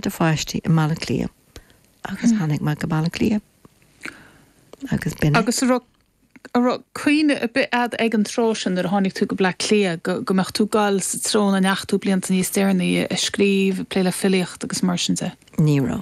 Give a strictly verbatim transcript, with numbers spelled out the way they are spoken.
do pháistí i mBaile Átha Cliath agus hmm. tháinig mé go Baile Átha Cliath agus b'in. Agus raibh cuimhne ar bith agat ag an tráth sin nuair a tháinig tú go Bleá Cliath go go mbeadh tú gal sa treo a ndeachaigh tú blianta níos deireanaí ag scríobh, plé le filíocht agus mar sin de. Ní raibh.